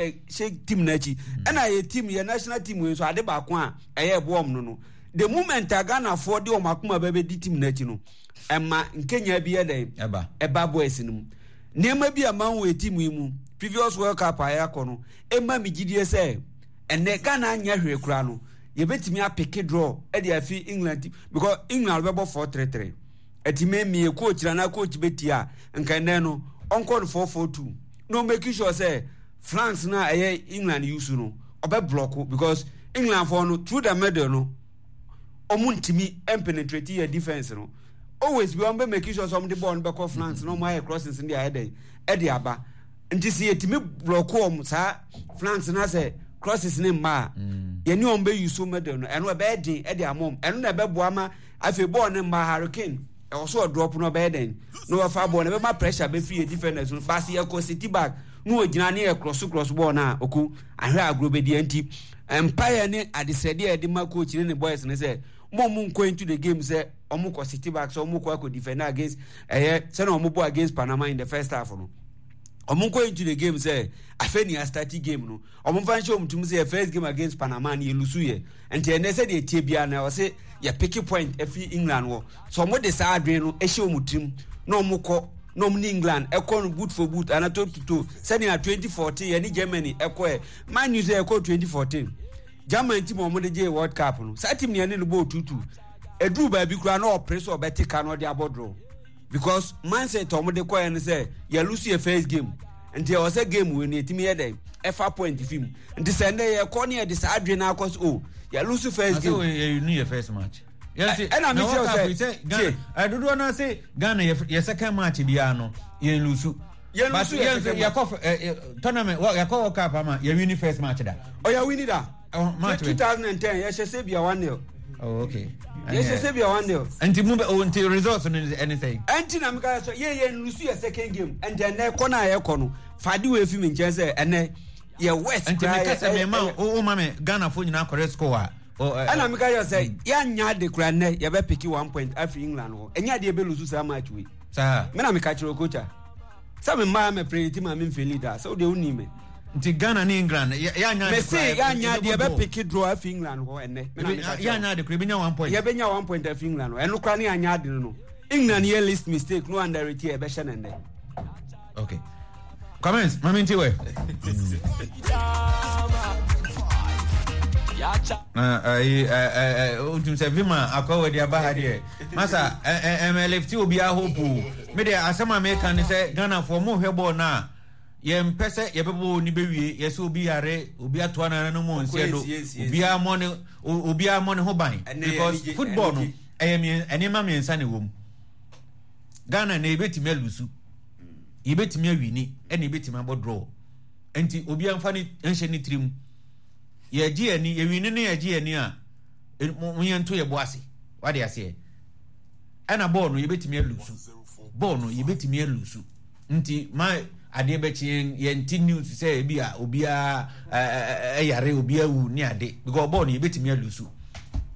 abɛhyɛ team no akyi. Ɛna yɛ team, yɛ national team wei nso ade baako a ɛyɛ ɛboa wɔn no no, the moment a Ghanafoɔ de wɔn akoma bɛbɛdi team no akyi no, ɛma nkenya bi yɛ dɛn? Ɛba. Ɛba boys no mu. Nneɛma bi a mahu wɔ team yi mu, previous World Cup a yɛakɔ no, ɛma me gyidie sɛ ɛnɛ Ghana anyɛ hwee koraa no, yɛbɛtumi apeke draw de afi England team because England bɛbɔ 4-3-3. Ɛti me meyɛ coach na na coach bɛtie a, nka ɛnɛ no ɔnkɔ no 4-4-2 na ɔmake sure sɛ flanks no a ɛyɛ England use no ɔbɛ block because England foɔ no through the middle no ɔmo ntumi mpenetrate yɛ defense no always bi ɔmo bɛ make sure sɛ ɔmo de ball no bɛkɔ flanks na ɔmo ayɛ crossings no de ayɛ dɛn ɛde aba nti sɛ yɛtumi block ɔmo saa flanks no asɛ crosses ne mma a mm. yɛne ɔmo bɛ use middle no ɛno ɛbɛyɛ den ɛde ama ɔmo ɛno na ɛbɛboa ma afei ball ne mma Harry Kane ɛwɔ so ɔdrop no ɔbɛyɛ dɛn na wafa ball no ɛbɛma pressure bɛfiri yɛ defenders no baasi yɛkɔ city back na wɔgyina ne yɛ cross cross ball no a ɔko ahwɛ agorɔ bɛdi nti Mpaeɛ ne adesrɛdeɛ a yɛde ma coach ne ne boys ne sɛ mo ɔmo nkɔ into the game sɛ ɔmo kɔ city back sɛ ɔmo kɔ akɔ defend against ɛyɛ sɛnea ɔmo bɔ against Panama in the first half no ɔmo nkɔ into the game sɛ afei ni astart game no ɔmo nfa nhyɛ ɔmo tum sɛ yɛ first game against Panama no yɛ lusu yɛ nti ɛnɛ sɛ deɛ tie biara na ɔsɛ yɛ pick point ɛfiri England wɔ so ɔmo de saa adwene no ɛhyɛ ɔmo tirim na ɔmo kɔ na ɔmo ne England ɛkɔ no boot for boot ana toe to toe sɛnea 2014 yɛ ne Germany ɛkɔ ɛ Man U sɛ ɛkɔɔ 2014 German team a wɔde gyee World Cup no, saa team no yɛne no bɔɔ tutu. Ɛduru baabi koraa na ɔpere sɛ ɔbɛte ka na ɔde abɔ draw. Because mindset a wɔde kɔɛ no sɛ yɛlose yɛ first game. Nti ɛwɔ sɛ game wei no yɛtumi yɛ dɛn ɛfa point fi mu. Nti sɛ nnɛ yɛkɔ ne yɛde saa adwene no akɔ so oh yɛlose first game. Yɛnu yɛ first match. Ɛna mi kyerɛ sɛ tie. Dodoɔ no ase Ghana yɛ second match biara no yɛn lusu. Yɛn lusu yɛ second match. Yɛkɔ tournament yɛkɔ World Cup ama yɛ win first match da. Ɔyɛ win da. Match 2010 yɛhyɛ Serbia 1-0. Oh, okay. Yɛhyɛ Serbia 1-0. Nti mu bɛ oh, nti results no ɛne sɛ. Ɛnti na meka sɛ yɛ yɛn lusu yɛ second game. Ɛnti ɛnɛ kɔ na yɛkɔ no fade wɔ efi mi nkyɛn sɛ ɛnɛ yɛ west. Nti meka sɛ mema wo ma me Ghana fo nyinaa kɔrɛ score a. Ɛna meka yɛ sɛ yɛanya ade kora nnɛ yɛbɛpeke one point afiri England hɔ. Ɛnyɛ adeɛ bɛlusu saa match wei. Saa. Me na meka kyerɛ coach a sɛ me mmaa mɛ predict ma me mfeli da sɛ wodeɛ wonim me. Nti Ghana ne England yɛanya ade kora. Mese yɛanya ade yɛbɛpeke draw afiri England hɔ ɛnnɛ. Me na meka kyerɛ. Yɛanya ade kora yɛbɛnya one point. Yɛbɛnya one point afiri England hɔ. Ɛno kora ne yɛanya ade no no. England yɛ least mistake no underrate yɛ yɛbɛhyɛ no nnɛ. Okay. Comments, mami nti wɛ. Na ayi ɛ ɛ ɛ sɛ vima akɔ wɔ de aba ha deɛ. Masa ɛ ɛ ɛmɛ lefti obi ahope o. Me deɛ asɛm a meka ne sɛ Ghanafoɔ mo hwɛ bɔɔl no a yɛmpɛ sɛ yɛbɛbɔ ni bɛwie yɛsɛ obi yare obi atoa nana no mu nseɛ do obiara mmɔ ne obiara mmɔ ne ho ban because football no ɛyɛ nneɛma mmiɛnsa na ɛwɔ mu. Ghana na yɛbɛtumi alusu yɛbɛtumi awini ɛna yɛbɛtumi abɔ draw nti obiara nfa ne nhyɛ ne tirim yɛgye yɛn ani yɛwini ne yɛgye yɛn ani a mo yɛn nto yɛ bo ase wade aseɛ ɛna bɔɔl no yɛbɛtumi alusu bɔɔl no yɛbɛtumi alusu Nti ma adeɛ bɛkye yɛn yɛn ti news sɛ ebi a obiara ɛyare obiara wu ne ade because bɔɔl no yɛbɛtumi alusu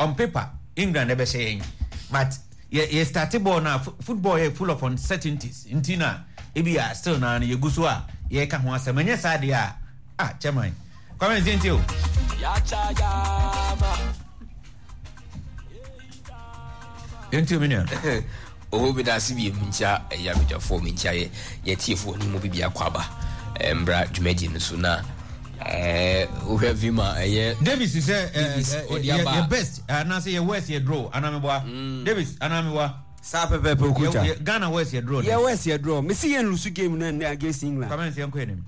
on paper England ɛbɛhyɛ yɛn but yɛ yɛ start bɔɔl no a football yɛ full of uncertainties nti na ebi a still na no yɛgu so a yɛka ho asɛm ɛnyɛ saa deɛ a ah chairman Kwame nti o. Yɛntie me nua. Oho meda ase bio menkyia ɛyɛ abadwafoɔ menkyia yɛ yɛtiefoɔ ne mu bibi akɔ aba mbra dwumadie no so na wohwɛ vima ɛyɛ Davis sɛ yɛ best anaasɛ yɛ worst yɛ draw anaa meboa mm. Davis anaa meboa saa pɛpɛpɛ okuta Ghana worst yɛ draw yɛ worst yɛ draw mesi yɛn lusu game no ɛnɛ against England Kwame nsi yɛn kɔ yɛn nim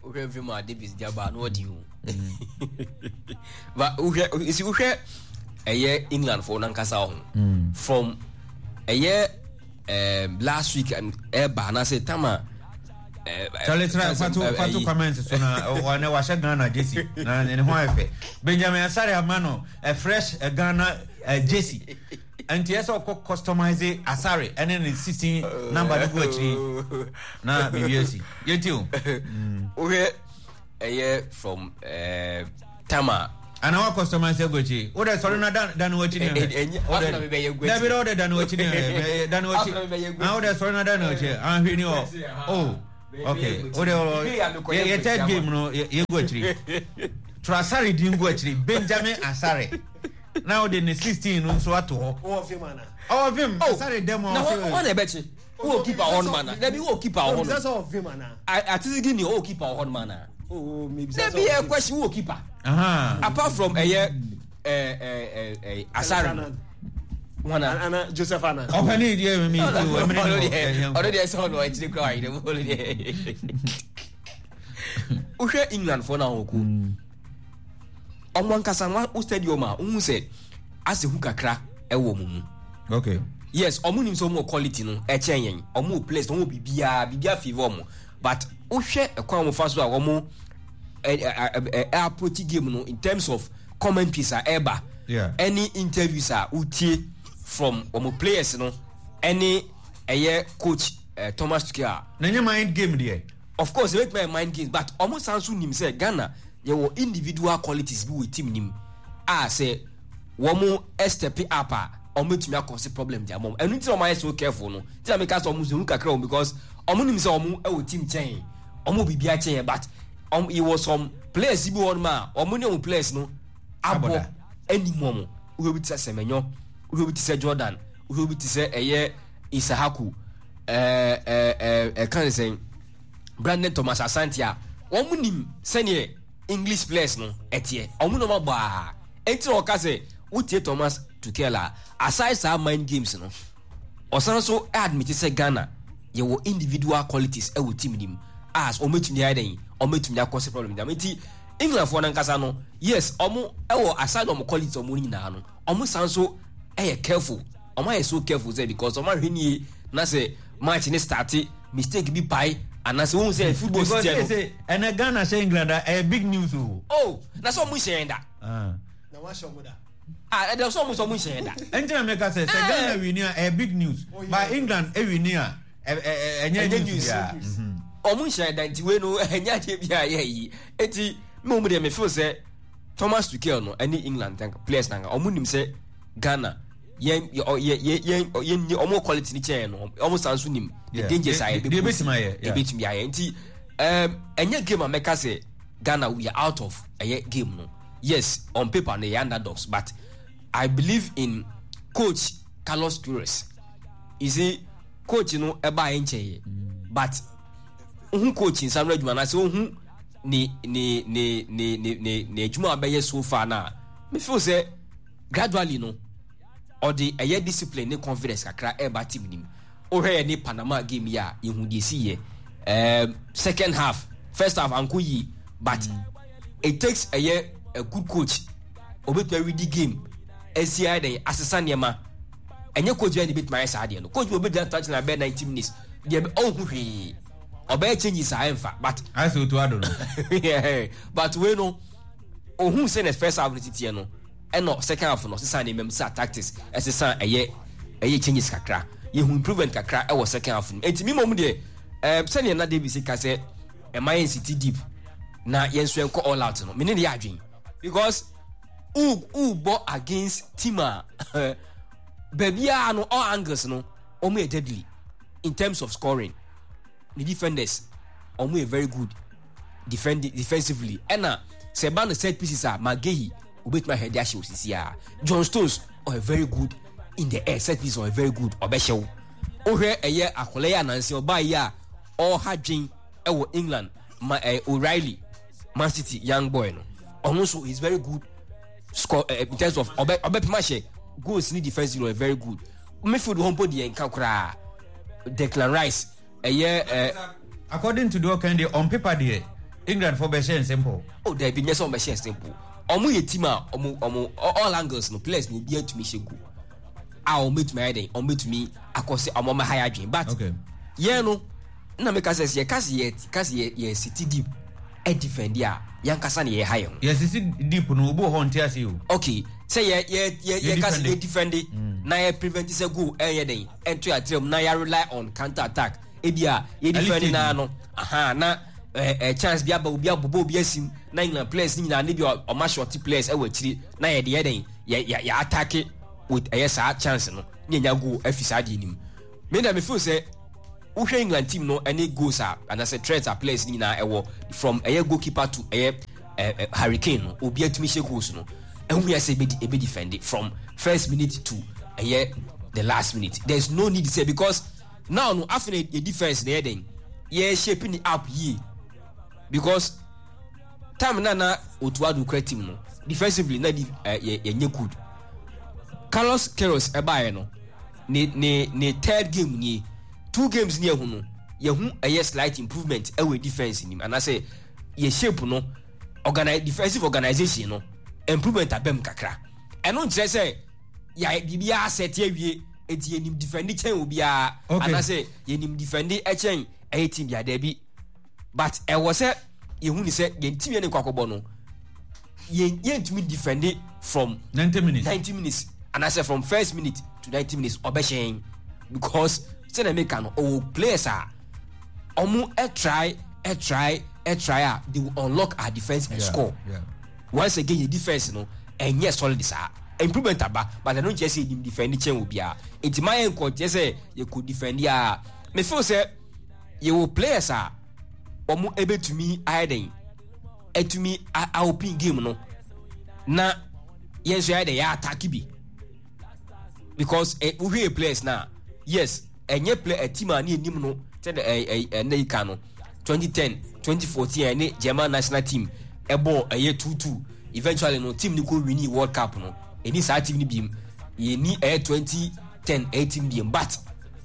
wohwɛ mfe mu a Davis de aba na ɔde o ba wohwɛ nsi wohwɛ ɛyɛ England fo nankasa ho mm. from ɛyɛ um, last week ɛba anaasɛ tama Charlie try fato fato comments so na ɔne wahyɛ Ghana jersey na ne ho ayɛ fɛ Benjamin Asare ama no a fresh Ghana jersey Nti ɛsɛ ɔkɔ customize asare ɛne ne 16 number no gu akyiri na biribi asi. Yɛnti o. Wohwɛ ɛyɛ from eh, tama. Ana wa customize agu akyiri. Wo dɛ sɔre na dan dan w'akyi ne hwɛ. Dabi dɛ wo dɛ dan w'akyi ne hwɛ. Dan w'akyi. Na wo dɛ sɔre na dan w'akyi. Ahwɛ ni hɔ. Oh. Okay o de yɛ yɛ third game no yɛ gu akyiri. Twerɛ Asare din gu akyiri Benjamin Asare na o de ne 16 no nso ato hɔ. Wɔ fim ana? Ɔwɔ fim Asare dɛm ɔwɔ fim. Na wɔn na ɛbɛkye. Wɔ keeper wɔ hɔ nom ana? Dabi wɔ keeper wɔ hɔ nom. Wɔ fim ana? Atizigi ni wɔ keeper wɔ hɔ nom ana? Dabi yɛ question wɔ keeper. Apart from ɛyɛ ɛɛ Asare no. Wana. Ana Joseph ana. Ɔpɛni deɛ mi mi ɔno deɛ sɛ ɔno akyire kura ayerɛ mu ɔno deɛ. Wohwɛ England fo na wɔn ko. Ɔmo ankasa no wo stadium a wohu sɛ asɛ hu kakra ɛwɔ ɔmo mu. Okay. Yes, ɔmo nim sɛ ɔmo wɔ quality no ɛkyɛn yɛn. Ɔmo wɔ players, ɔmo wɔ biribiara, biribiara favour ɔmo. But wohwɛ ɛkwan a ɔmo fa so a ɔmo ɛ ɛ ɛ approach game no in terms of commentaries a ɛba ɛne interviews a wotie from wɔn players no ɛne ɛyɛ coach eh, Thomas Tuchel. Na nye mind game deɛ. Of course ebetumi ayɛ mind games but wɔn san so nim sɛ Ghana yɛwɔ individual qualities bi wɔ team nim a sɛ wɔn step up a wɔn betumi akɔsi problem di ama wɔn ɛnu ti na wɔn ayɛ so careful no ti na mi ka sɛ wɔn nso kakra wɔn because wɔn nim sɛ wɔn wɔ team kyɛn wɔn wɔ biribi akyɛn yɛn but wɔn yɛwɔ some players bi wɔ hɔ nom a wɔn ne wɔn players no abɔ anim wɔn wohwɛ bi te sɛ Semenyo wohwɛ bi te sɛ Jordan wohwɛ bi te sɛ ɛyɛ Isahaku ɛɛ ɛɛ ɛka ne sɛn Brandon Thomas Asante a wɔn nim sɛdeɛ English players no ɛteɛ wɔn na wɔn abɔ a ɛnti na wɔka sɛ wotie Thomas Tuchel a aside saa mind games no Ɔsan nso admit sɛ Ghana yɛwɔ individual qualities wɔ team no mu a wɔn bɛtumi ayɛ dɛn, wɔn bɛtumi akɔse problem gyama. Nti England foɔ no ankasa no, yes, wɔn wɔ aside wɔn qualities wɔn no nyinaa no, wɔn san nso yɛ careful. Wɔn ayɛ so careful sɛ because wɔn ahwɛ nie na sɛ match ne start mistake bi pae anaasɛ wɔn sɛ football si tiɛ no. Because ɛnɛ Ghana hyɛ England a ɛyɛ big news o. Oh, na sɛ wɔn nhyɛ yɛn da. Ah. Na wɔahyɛ wɔn da. Ah, ɛdɛ sɛ ɔmo sɛ ɔmo nhyɛ yɛn da. Ɛnti na meka sɛ sɛ Ghana wini a ɛyɛ big news oh, but England wini a ɛnyɛ news biara. Mhm. Ɔmo nhyɛ yɛn da nti wei no ɛnyɛ adeɛ bi a yɛ yi. Eti me wɔn deɛ me feel sɛ Thomas Tuchel no ɛne England players na ɔmo nim sɛ Ghana yɛn yɛ yɛ yɛn yɛn ni ɔmo quality ni kyɛn no ɔmo san so nim the dangers a yɛbɛ ayɛ ebetumi ayɛ nti ɛnyɛ game a mɛka sɛ Ghana we are out of ɛyɛ game no. Yes, on paper no yɛ underdogs but I believe in coach Carlos Queiroz. You see, coach no ɛbaa yɛ nkyɛn yɛ but ohun coach nsa no adwuma na sɛ ohun ne ne ne ne ne ne ne adwuma a bɛyɛ so far na me feel sɛ gradually no ɔde ɛyɛ discipline ne confidence kakra ɛreba team nim. Wohwɛ yɛ ne Panama game yi a yɛhu deɛ ɛsi yɛ. Um, second half, first half anko yie but mm. it takes ɛyɛ a good coach obetumi awidi game esi ayɛ dɛn asesa nneɛma ɛnyɛ coach bɛyɛ na ebetumi ayɛ saa deɛ no coach bi obegyina touch na bɛyɛ 90 minutes deɛ ɔnhu hwee ɔbɛyɛ changes a ɛnfa but. ayɛ sɛ otu ado no. but wei no ohun sɛ na first half no titiɛ no ɛna second half no ɔsesa nneɛma mu sesa tactics ɛsesa ɛyɛ ɛyɛ changes kakra yɛhu improvement kakra ɛwɔ second half no eti mi mom deɛ ɛɛ sɛnea na Davis ka sɛ ɛma yɛn city deep na yɛn nso yɛn kɔ all out no mene ne yɛ adwene because wo wo bɔ against team a baabiara no all angles no wɔn yɛ deadly in terms of scoring ne defenders wɔn yɛ very good defend defensively ɛna sɛ ɛba no set pieces a Magehi obetumi ahwɛ de ahyɛ osisi a John Stones ɔyɛ very good in the air set pieces ɔyɛ very good ɔbɛhyɛ wo wohwɛ ɛyɛ akɔla yi anansi ɔbaa yi a ɔha dwen ɛwɔ England ma ɛyɛ O'Reilly Man City young boy no ɔno nso is very good score uh, in terms of ɔbɛ ɔbɛpem ahyɛ goals ni defense ɔyɛ very good midfield hɔ mpo deɛ nka koraa Declan Rice ɛyɛ ɛ. According to deɛ ɔkan deɛ on paper deɛ England fo bɛhyɛ simple. Oh dabi nyɛ sɛ ɔmo bɛhyɛ simple ɔmo yɛ team a ɔmo ɔmo all angles no players no obi atumi hyɛ goal a ɔmo betumi ayɛ dɛn ɔmo betumi akɔ sɛ ɔmo ɔmo ha yɛ adwene but okay. yɛn no na meka sɛ yɛ ka sɛ yɛ ka sɛ yɛ yɛ siti deep ɛ defend a yɛn kasa na yɛ ha yɛn ho. Yɛ sisi deep no obi wɔ hɔ nte ase o. Okay sɛ yɛ yɛ yɛ yɛ ka sɛ yɛ defend na yɛ prevent sɛ goal ɛnyɛ dɛn ɛnto yɛ atrɛ mu na yɛ rely on counter attack ebi a yɛ defend naa no aha na ɛɛ ɛ chance bi aba obi abobɔ obi asim na England players ne nyinaa ne bi ɔma short players ɛwɔ akyiri na yɛ de yɛ dɛn yɛ yɛ yɛ attack with ɛyɛ saa chance no ne yɛ nya goal afi saa deɛ nim me na me feel sɛ. Wohwɛ England team no ɛne goals a anaasɛ threats a players no nyinaa ɛwɔ from ɛyɛ goalkeeper to ɛyɛ eh, Harry Kane no obi atumi hyɛ goals no ɛho hia sɛ ebe ebe defend from first minute to ɛyɛ the last minute. There is no need sɛ because now no afei na yɛ defense na yɛ den yɛ shape ne up yie because time na na Otto Addo kura team no defensively na di eh, yɛ yɛ nyɛ good. Carlos Queiroz ɛbaeɛ no ne ne ne third game nie two games ni ɛho no yɛho ɛyɛ slight improvement ɛwɔ defense nim anaasɛ yɛ shape no organi defensive organization no improvement abam kakra. Ɛno nkyerɛ sɛ yɛ biribiara sɛte awie eti yɛnim defend kyɛn obiara okay. Anaasɛ yɛnim defend kyɛn ɛyɛ team bi adaabi but ɛwɔ sɛ yɛhu ne sɛ yɛn team yɛn ne kɔ akɔbɔ no yɛn yɛntumi defend from 90 minutes 90 minutes anaasɛ from first minute to 90 minutes ɔbɛhyɛn because sɛdeɛ meka no ɔwɔ players a ɔmo try try try a they will unlock our defence and yeah, score yeah. Once again yɛ defence no ɛnyɛ solid saa improvement aba but ɛno nkyerɛ sɛ yɛnim defend kyɛn obiara nti ma yɛn nkɔ kyerɛ sɛ yɛkɔ defend a me feel sɛ yɛwɔ players a wɔn ɛbɛtumi ayɛ den atumi a open game no na yɛn nso yɛ dɛ yɛ attack bi because eh, wohwɛ yɛ players na yes ɛnyɛ play a team a ne anim no sɛ de ɛ ɛ ɛnna yi ka no 2010 2014 ɛne German national team ɛbɔ ɛyɛ 2-2 eventually no team no kɔ winning World Cup no ɛni saa team no biem yɛni ɛyɛ 2010 ɛyɛ team biem but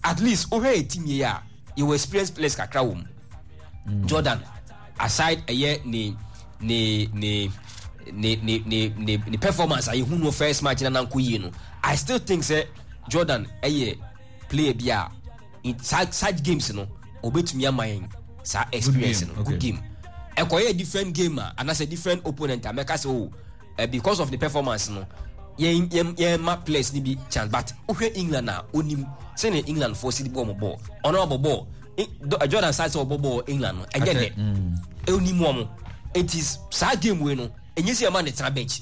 at least wohwɛ yɛ team yɛ a yɛwɔ experience players kakra wɔ mu Jordan aside ɛyɛ ne ne ne ne ne ne ne ne performance a yɛhu no first match na nanko yie no I still think sɛ Jordan ɛyɛ player bi a in such, such games no obetumi ama yɛn saa experience no good game ɛkɔyɛ different game a anaasɛ different opponent a mɛka sɛ o oh, eh, because of the performance no yɛn yɛn yɛn ma players ni bi chance but wohwɛ England a onim sɛnea England fo si bɔ ɔmo bɔɔl ɔno abɔ bɔɔl Jordan san sɛ ɔbɔ bɔɔl England no ɛnyɛ dɛ onim wɔn eti saa game wei no enye sɛ ɛma ne tena bench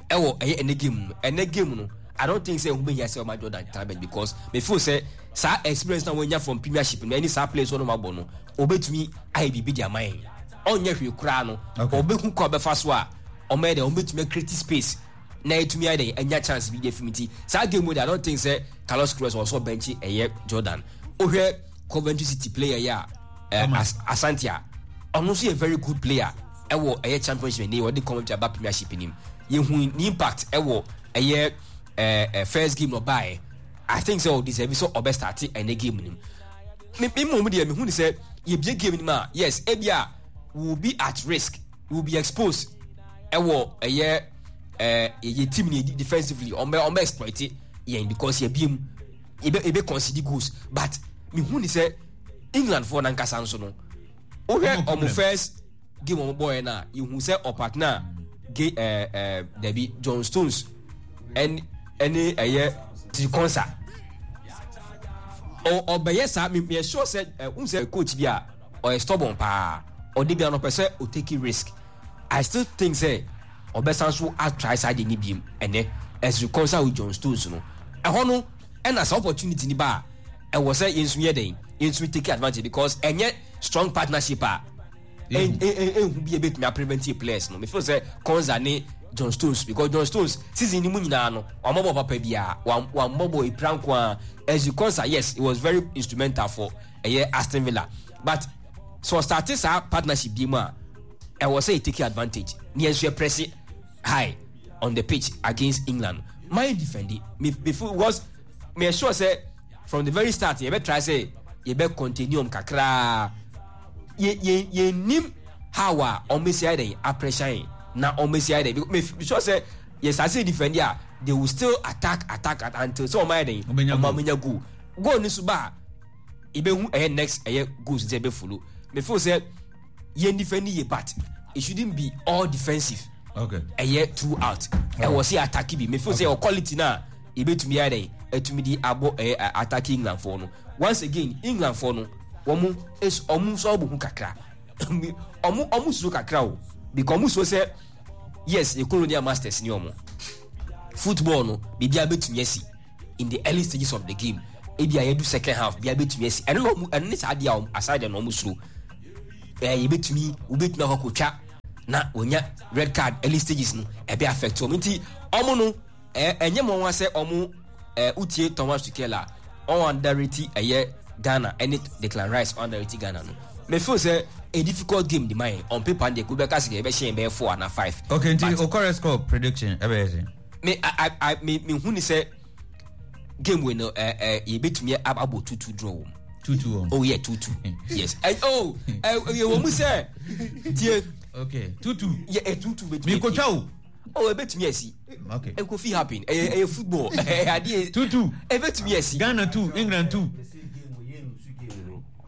ɛwɔ ɛyɛ ɛnɛ game no ɛnɛ game no I don't think sɛ ɛho bɛhia sɛ ɔma Jordan tena bench because me feel sɛ saa experience na wɔnya from Premiership no ɛne saa players wɔn abɔ no obetumi ayɛ biribi de ama yɛn ɔnyɛ hwee koraa no ɔbɛhu kɔ ɔbɛfa so a ɔmɛyɛ dɛ ɔbɛtumi create space na ɛtumi ayɛ dɛ anya chance bi de afim ti saa game mu de I don't think sɛ Carlos Queiroz ɔsɔ bɛnkye ɛyɛ Jordan wohwɛ Coventry City player yi a eh, Asante a ɔno nso yɛ very good player ɛwɔ ɛyɛ championship ne ɔde Coventry aba Premiership nim yɛhu ne impact ɛwɔ ɛyɛ ɛɛ first game na ɔbaeɛ I think sɛ ɔdeserve sɛ ɔbɛ start ɛnɛ game nim me mmom deɛ mehu ne sɛ yɛbie game nim a yes ebi a will be at risk will be exposed ɛwɔ ɛyɛ ɛɛ yɛ team ne defensively ɔmbɛ ɔmbɛ exploit yɛn because yɛbie mu yɛbɛ yɛbɛ concede goals but mehu ne sɛ England foɔ nankasa nso no wohwɛ ɔmo first game ɔmo bɔɔyɛ no a yɛhu sɛ ɔpartner ge ɛɛ ɛɛ dabi John Stones ɛne ɛne ɛyɛ Konsa ɔbɛyɛ saa me me sure sɛ ɛ n sɛ coach bi a ɔyɛ stubborn paa ɔde bi a ɔpɛ sɛ o take risk I still think sɛ ɔbɛsan so atry saa deɛ ne biem ɛnɛ Ezri Konsa with John Stones no ɛhɔ no ɛna saa opportunity ni ba a ɛwɔ sɛ yɛn nso yɛ dɛn yɛn nso take advantage because ɛnyɛ strong partnership a ehu bi ebetumi aprevent yɛ players no me feel sɛ Konsa ne John Stones because John Stones season ni mu nyinaa no wɔn bɔ papa biara wɔn wɔn bɔ epira nko ara Ezri Konsa yes it was very instrumental for ɛyɛ Aston Villa but so ɔstarte saa partnership bi mu a ɛwɔ sɛ yɛ take advantage ne yɛn nso yɛ press high on the pitch against England man defend me me feel was me sure sɛ from the very start yɛbɛ try sɛ yɛbɛ continue kakraa yɛ yɛ yɛ nim how a wɔn bɛsi ayɛ dɛ apressure yɛn na wɔn bɛsi ayɛ dɛ me me sure sɛ yɛ saa sɛ defend a they will still attack attack until sɛ wɔn ayɛ dɛ wɔn amenya goal goal ni so ba a yɛbɛhu ɛyɛ next ɛyɛ goals sɛ ɛbɛ follow me feel sɛ yɛn defend yɛ but it shouldn't be all defensive okay ɛyɛ throughout ɛwɔ sɛ attack bi me feel sɛ ɛwɔ quality na yɛbɛtumi ayɛ dɛ ɛtumi de abɔ ɛyɛ attack England foɔ no once again England foɔ no wɔn wɔn nso abɔ hu kakra wɔn wɔn suro kakra o because wɔn suro sɛ yes yɛ colonial masters ni wɔn football no biribi abɛtumi asi in the early stages of the game. Ebi a yɛdu second half bia betumi asi. Ɛno na ɔmo ɛno ne saa adeɛ a ɔmo aside na ɔmo suro. Ɛɛ yɛbɛtumi wobɛtumi akɔ akɔtwa na wɔnya red card early stages no ɛbɛ affect wɔn nti ɔmo no ɛɛ ɛnyɛ mo nwa sɛ ɔmo ɛɛ wotie Thomas Tuchel a ɔn underrate ɛyɛ Ghana ɛne Declan Rice ɔn underrate Ghana no me feel sɛ a difficult game de ma yɛn on paper deɛ kò bɛka sɛ yɛbɛhyɛ yɛn bɛyɛ four ana five. Okay nti o correct score prediction ɛbɛyɛ sɛ. Me I I me me hu ni sɛ game wei no ɛɛ ɛɛ yɛbɛtumi abɔ 2-2 draw wɔm. 2-2 wɔm. Oh yeah, 2-2. Yes. Ɛ oh ɛ yɛ wɔ mu sɛ tie. Okay, 2-2. Yɛ ɛ 2-2 bɛtumi. Mi ko twa o. Oh ɛbɛtumi asi. Okay. Ɛkofi happen. Ɛyɛ ɛyɛ football. Ɛyɛ adeɛ. 2-2. Ɛbɛtumi asi. Ghana 2, England 2.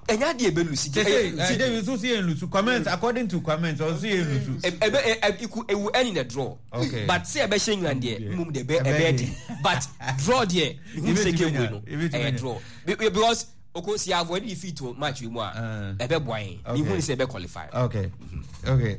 Ɛnyɛ adeɛ ɛbɛ lusi. Sese ɛ David nso si yɛn lusu. Comments according to comments ɔnso yɛn lusu. Ɛbɛ ɛ iku ewu ɛni na draw. Okay. But sɛ ɛbɛhyɛ England deɛ mmom deɛ ɛbɛ ɛbɛ den. But draw deɛ ihu sɛ game wei no ɛyɛ draw because oko si avoid defeat wɔ match wei mu a ɛbɛ boa yɛn. Ihu sɛ ɛbɛ qualify. Okay. Okay.